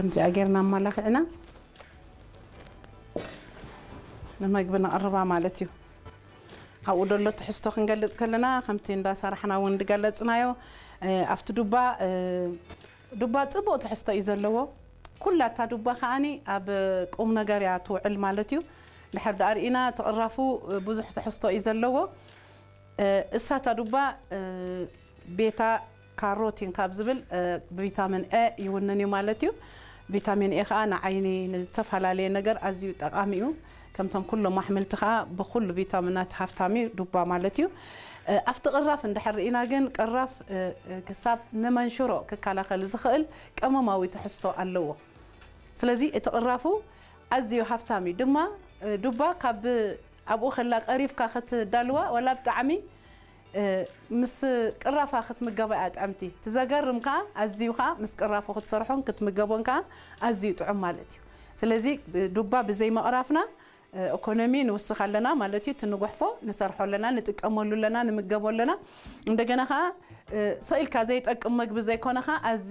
ከምዚኣ ጌርና ኣማላኺዕና ንመግቢ ነቕርባ ማለት እዩ። ኣብኡ ደሎ ትሕዝቶ ክንገልጽ ከለና ከምቲ እንዳሰራሕና እውን ዝገለጽናዮ ኣብቲ ዱባ ዱባ ጽቡቕ ትሕዝቶ እዩ ዘለዎ። ኩላታ ዱባ ከዓኒ ኣብ ቁም ነገር እያ ትውዕል ማለት እዩ። ድሕር ደኣ ርኢና ትቕራፉ ብዙሕ ትሕዝቶ እዩ ዘለዎ። እሳታ ዱባ ቤታ ካሮቲን ካብ ዝብል ብቪታሚን ኤ ይውንን እዩ ማለት እዩ። ቪታሚን ኤ ከዓ ንዓይኒ ንዝተፈላለየ ነገር ኣዝዩ ጠቃሚ እዩ። ከምቶም ኩሎም ኣሕምልቲ ከዓ ብኩሉ ቪታሚናት ሃፍታም እዩ ዱባ ማለት እዩ። ኣብቲ ቅራፍ እንድሕር ርኢና ግን ቅራፍ ክሳብ ንመንሽሮ ክከላኸል ዝኽእል ቀመማዊ ትሕዝቶ ኣለዎ። ስለዚ እቲ ቅራፉ ኣዝዩ ሃፍታም እዩ ድማ ዱባ ካብ ኣብኡ ከላ ቀሪፍካ ክትዳልዋ ወላ ብጣዕሚ ምስ ቅራፋ ክትምገባ እያ ጥዕምቲ። ትዘገርም ከዓ ኣዝዩ ከዓ ምስ ቅራፉ ክትሰርሖን ክትምገቦን ከዓ ኣዝዩ ጥዑም ማለት እዩ። ስለዚ ዱባ ብዘይ መቕራፍና ኢኮኖሚ ንውስኽ ኣለና ማለት እዩ። ትንጉሕፎ ንሰርሖ ኣለና፣ ንጥቀመሉ ኣለና፣ ንምገቦ ኣለና። እንደገና ከዓ ሰኢልካ ዘይጠቅም መግቢ ዘይኮነ ከዓ ኣዝዩ